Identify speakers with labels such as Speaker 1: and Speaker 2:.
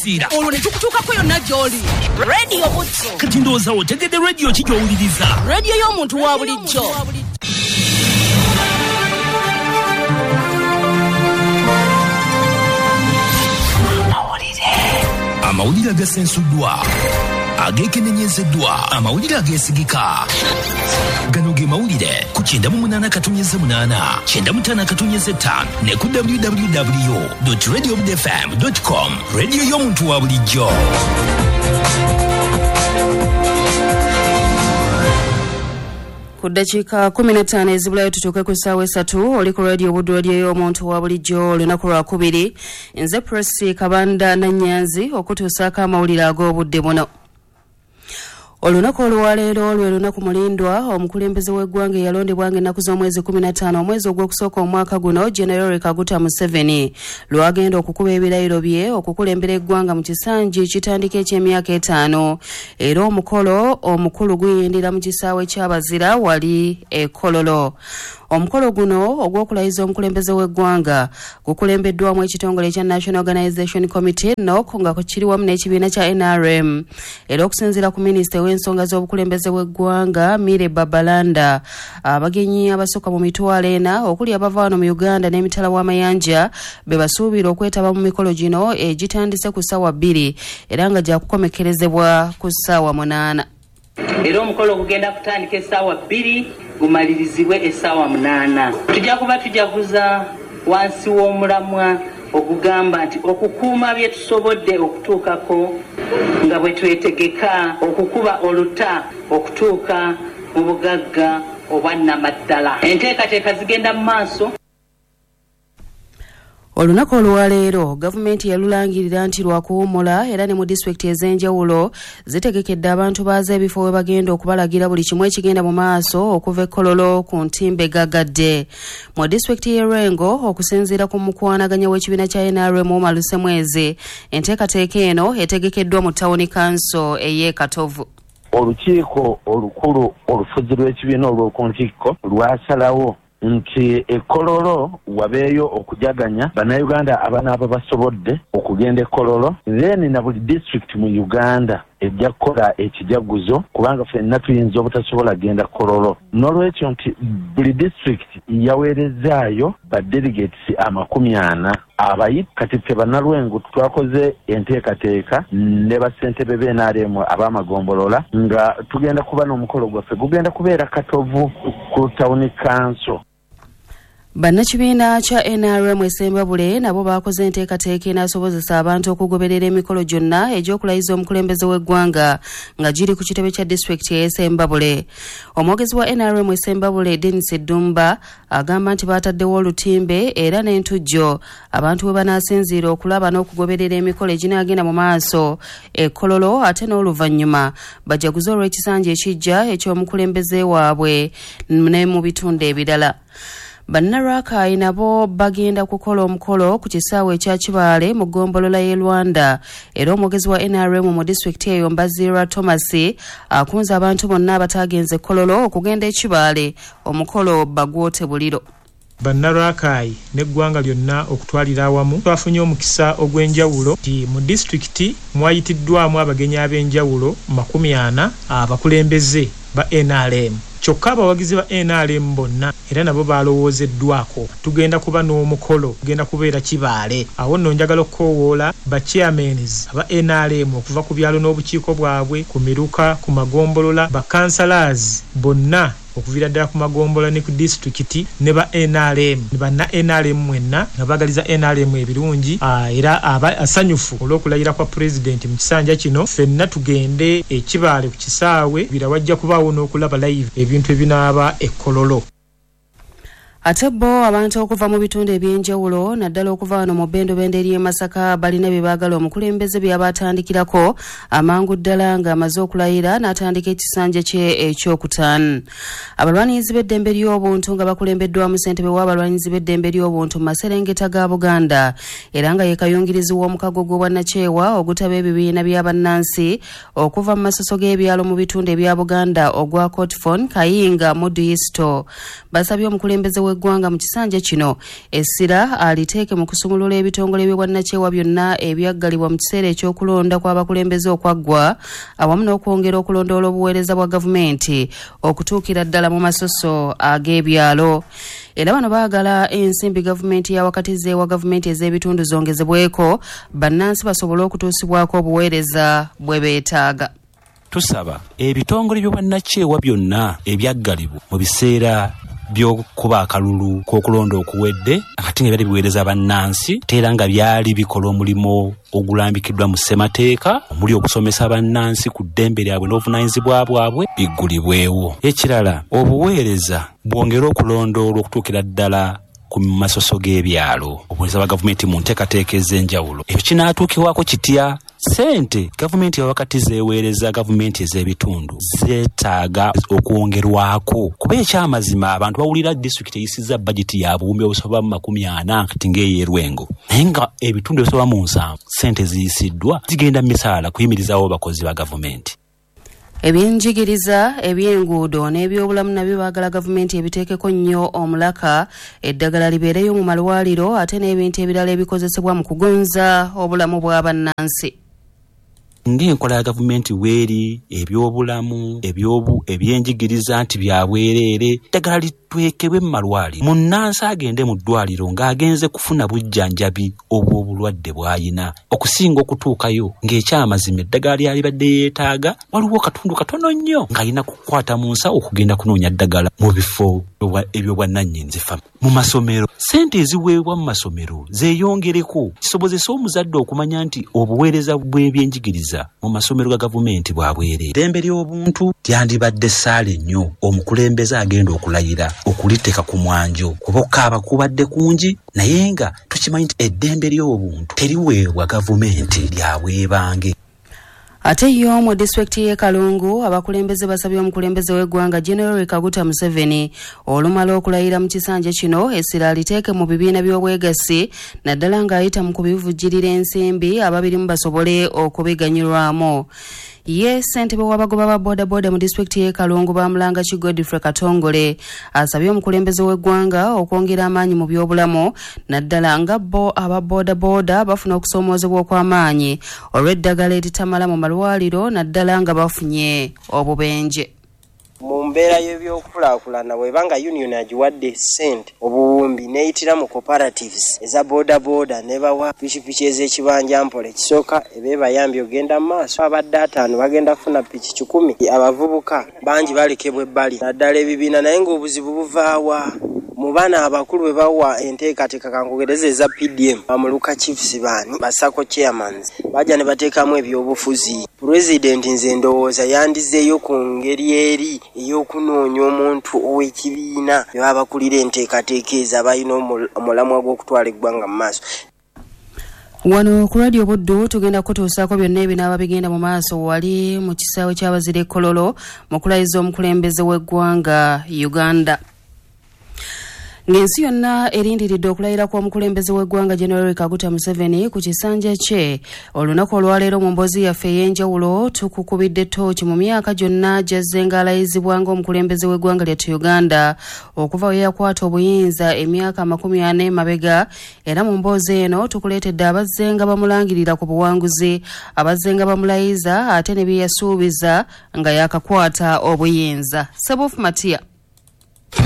Speaker 1: Okusinziira
Speaker 2: Olwo ne tukutuukako yonna gy'oli. Radio Butto.
Speaker 1: Kati ndowooza otegedde rediyo ki gy'owuliriza.
Speaker 2: Rediyo y'omuntu wa bulijjo.
Speaker 1: Amawulire agasensuddwa, ageekenenyezeddwa, amawulire ageesigika. Gano ge mawulire ku 98.8, 95.5 ne ku www.radiobudfm.com. Rediyo y'omuntu wa bulijjo.
Speaker 3: Ku ddakiika 15 ezibulayo tutuuke ku ssaawa 3, oli ku Radio Buddu, radio y'omuntu wa bulijjo, olunaku lwakubiri. Nze Prossy Kabanda Nannyanzi okutuusaako amawulire ag'obudde buno. Olunaku olwaleero lwe lunaku mulindwa omukulembeze w'eggwanga eyalondebwa ng'ennaku z'omwezi 15 omwezi ogw'okusooka omwaka guno, General Kaguta Museveni, lwagenda okukuba ebirayiro bye okukulembera eggwanga mu kisanja ekitandika eky'emyaka 5. Era omukolo omukulu guyindira mu kisaawe ky'Abazira wali e Kololo. Omukolo guno ogw'okulayiza omukulembeze w'eggwanga gukulembeddwamu ekitongole ekya National Organization Committee NOC nga kiri wamu n'ekibiina kya NRM. Era okusinziira ku minisita w'ensonga z'obukulembeze bw'eggwanga Mire Babalanda, abagenyi abasukka mu 400 okuli abava wano mu Uganda n'emitala w'amayanja be basuubira okwetaba mu mikolo gino egitandise ku ssaawa 2 era nga gyakukomekerezebwa ku ssaawa 8.
Speaker 4: Era omukolo gugenda kutandika essaawa 2 gumalirizibwe essaawa 8. Tujja kuba tujaguza wansi w'omulamwa ogugamba nti okukuuma bye tusobodde okutuukako nga bwe twetegeka okukuba oluta okutuuka mu bugagga obwannamaddala. Enteekateeka zigenda mu maaso.
Speaker 3: Olunaku olwaleero gavumenti yalulangirira nti lwakuwummula era ne mu disitulikiti ez'enjawulo zitegekedde abantu baazo ebifo we bagenda okubalagira buli kimu ekigenda mu maaso okuva e Kololo ku ntimbe gagadde. Mu disitulikiti y'e Lwengo, okusinziira ku mukwanaganya w'ekibiina kya NRM Umar Lusemwezi, enteekateeka eno etegekeddwa mu tawuni kanso ey'e Katovu.
Speaker 5: Olukiiko olukulu olufuzi lw'ekibiina olw'oku ntikko lwasalawo nti e Kololo wabeeyo okujaganya bannayuganda abanaaba basobodde okugenda e Kololo, then na buli disitulikiti mu Uganda ejja kukola ekijaguzo kubanga ffenna tuyinza obutasobola kugenda Kololo. N'olwekyo nti buli disitulikiti yaweerezaayo ba delegates 40 abayi. Kati ffe bannalwengo twakoze enteekateeka ne bassentebe b'NRM ab'amagombolola nga tugenda kuba n'omukolo gwaffe gugenda kubeera Katovu ku town council.
Speaker 3: Bannakibiina kya NRM e Ssembabule nabo baakoze enteekateeka enaasobozesa abantu okugoberera emikolo gyonna egy'okulayiza omukulembeze w'eggwanga nga giri ku kitebe kya disitulikiti ey'e Ssembabule. Omwogezi wa NRM e Ssembabule Denis Ddumba agamba nti baataddewo olutimbe era n'entujjo abantu we banaasinziira okulaba n'okugoberera emikolo eginaagenda mu maaso e Kololo, ate n'oluvannyuma bajaguze olw'ekisanja ekijja eky'omukulembeze waabwe ne mu bitundu ebirala. Bannalwakaayi nabo bagenda kukola omukolo ku kisaawe ekya Kibaale mu ggombolola y'e Rwanda. Era omwogezi wa NRM mu disitulikiti eyo Mbazira Thomas akunze abantu bonna abataagenze Kololo okugenda e Kibaale omukolo bagwote buliro.
Speaker 6: Bannalwakaayi n'eggwanga lyonna okutwalira awamu twafunye omukisa ogw'enjawulo nti mu disitulikiti mwayitiddwamu abagenyi ab'enjawulo 40 abakulembeze ba NRM. Kyokka abawagizi ba NRM bonna era nabo balowoozeddwako. Tugenda kuba n'omukolo gugenda kubeera Kibaale. Awo nno njagala okukoowoola ba chairmans aba NRM okuva ku byalo n'obukiiko bwabwe, ku miruka, ku magombolola, ba councillors bonna okuviira ddala ku magombolola ne ku disitulikiti ne ba NRM, ne banna NRM mwenna nga baagaliza NRM ebirungi, era abasanyufu olw'okulayira kwa pulezidenti mu kisanja kino. Ffenna tugende e Kibaale ku kisaawe, bira wajja kubaawo n'okulaba live ebintu ebinaaba e Kololo.
Speaker 3: Ate bo abantu okuva mu bitundu eby'enjawulo naddala okuva wano mu bbendobendo ery'e Masaka balina bye baagala omukulembeze by'abatandikirako amangu ddala ng'amaze okulayira n'atandika ekisanja kye ekyokutaano. Abalwanirizi b'eddembe ly'obuntu nga bakulembeddwamu ssentebe w'abalwanirizi b'eddembe ly'obuntu mu maserengeta ga Buganda era nga ye kayungirizi w'omukago gw'obwannakyewa ogutaba ebibiina bya bannansi okuva mu masoso g'ebyalo mu bitundu ebya Buganda ogwa Cotfon Kayinga Muduisto, basabye omukulembeze w'eggwanga mu kisanja kino essira aliteeke mu kusumulula ebitongole by'obwannakyewa byonna ebyaggalibwa mu kiseera eky'okulonda kw'abakulembeze okwaggwa, awamu n'okwongera okulondoola obuweereza bwa gavumenti okutuukira ddala mu masoso ag'ebyalo. Era bano baagala ensimbi gavumenti ya wakati zeewa gavumenti ez'ebitundu zongezebweko bannansi basobole okutuusibwako obuweereza bwe beetaaga.
Speaker 7: Tusaba ebitongole by'obwannakyewa byonna ebyaggalibwa mu biseera by'okuba akalulu k'okulonda okuwedde, ate nga byali biweereza bannansi, ate era nga byali bikola omulimu ogulambikiddwa mu ssemateeka omuli okusomesa bannansi ku ddembe lyabwe n'obuvunaanyizibwa bwabwe, biggulibwewo. Ekirala, obuweereza bwongere okulondoolwa okutuukira ddala ku masoso g'ebyalo, obuweereza bwa gavumenti mu nteekateeka ez'enjawulo. Ekyo kinaatuukibwako kitya? Ssente gavumenti wakati zeeweereza gavumenti ez'ebitundu zeetaaga okwongerwako, kuba ekyamazima abantu bawulira disitulikiti eyisizza bajeti ya buwumbi obusoba mu 40 kati ng'ey'Erwengo, naye nga ebitundu ebisoba mu 70 ssente ziyisiddwa zigenda mu misaala kuyimirizaawo abakozi ba gavumenti.
Speaker 3: Ebyenjigiriza, ebyenguudo n'ebyobulamu nabyo baagala gavumenti ebiteekeko nnyo omulaka, eddagala libeereyo mu malwaliro ate n'ebintu ebirala ebikozesebwa mu kugonza obulamu bwa bannansi.
Speaker 7: Ng'enkola ya gavumenti weeri, ebyobulamu, ebyenjigiriza nti bya bwereere, eddagala litwekebwe mu malwaliro. Munnansi agende mu ddwaliro ng'agenze kufuna bujjanjabi obw'obulwadde bw'ayina, okusinga okutuukayo ng'ekyamazima eddagala lyalibadde yeetaaga waliwo katundu katono nnyo ng'alina kukwata mu nsawo okugenda kunoonya ddagala mu bifo ebyobwannannyini. Mu masomero, ssente eziweebwa mu masomero zeeyongereko kisobozese omuzadde okumanya nti obuweereza bw'ebyenjigiriza mu masomero ga gavumenti bwa bwereere. Eddembe ly'obuntu lyandibadde ssaala nnyo omukulembeze agenda okulayira okuliteeka ku mwanjo, kuba okukaaba kubadde kungi, naye nga tukimanyi nti eddembe ly'obuntu teriweebwa gavumenti lya bwebange.
Speaker 3: Ate yo mu disitulikiti y'e Kalungu abakulembeze basabye omukulembeze w'eggwanga General Kaguta Museveni olumala okulayira mu kisanja kino essira aliteeke mu bibiina by'obwegassi, naddala ng'ayita mu kubivujjirira ensimbi ababirimu basobole okubiganyulwamu. Ye ssentebe w'abagoba ba bodaboda mu disitulikiti y'e Kalungu Bamulanga ki Godfrey Katongole asabye omukulembeze w'eggwanga okwongera amaanyi mu byobulamu, naddala nga bo aba bodaboda bafuna okusoomoozebwa okw'amaanyi olw'eddagala eritamala mu malwaliro, naddala nga bafunye obubenje.
Speaker 8: Mu mbeera y'ebyokulaakulana bw'eba nga union agiwadde ssente obuwumbi n'eyitira mu cooperatives eza bodaboda n'ebawa pikipiki ez'ekibanja mpola, ekisooka eba ebayambye ogenda mu maaso. Abadde 5 bagenda kufuna piki 100. Abavubuka bangi balekebwa ebbali naddala ebibiina, naye ng'obuzibu buvaawa mu baana abakulu bwe bawa enteekateeka. Kankugereze eza PDM, bamuluka chiefs baani basako chairmans bajja ne bateekamu ebyobufuzi. Pulezidenti nze ndowooza yandizeeyo ku ngeri eri ey'okunoonya omuntu ow'ekibiina be baba bakulira enteekateeka ezo abalina omulamwa gw'okutwala eggwanga mu maaso.
Speaker 3: Wano ku Radio Buddu tugenda kutuusaako byonna ebinaaba bigenda mu maaso wali mu kisaawe ky'abazira e Kololo mu kulayiza omukulembeze w'eggwanga Uganda. Ng'ensi yonna erindiridde okulayira kw'omukulembeze w'eggwanga General Kaguta Museveni ku kisanja kye, olunaku olwaleero mu mboozi yaffe ey'enjawulo tukukubidde ttooki mu myaka gyonna gy'azze ng'alayizibwa ng'omukulembeze w'eggwanga lyattu Uganda okuva we yakwata obuyinza emyaka 40 emabega. Era mu mboozi eno tukuleetedde abazze nga bamulangirira ku buwanguzi, abazze nga bamulayiza ate ne bye yasuubiza nga yakakwata obuyinza. Sebufu Matia.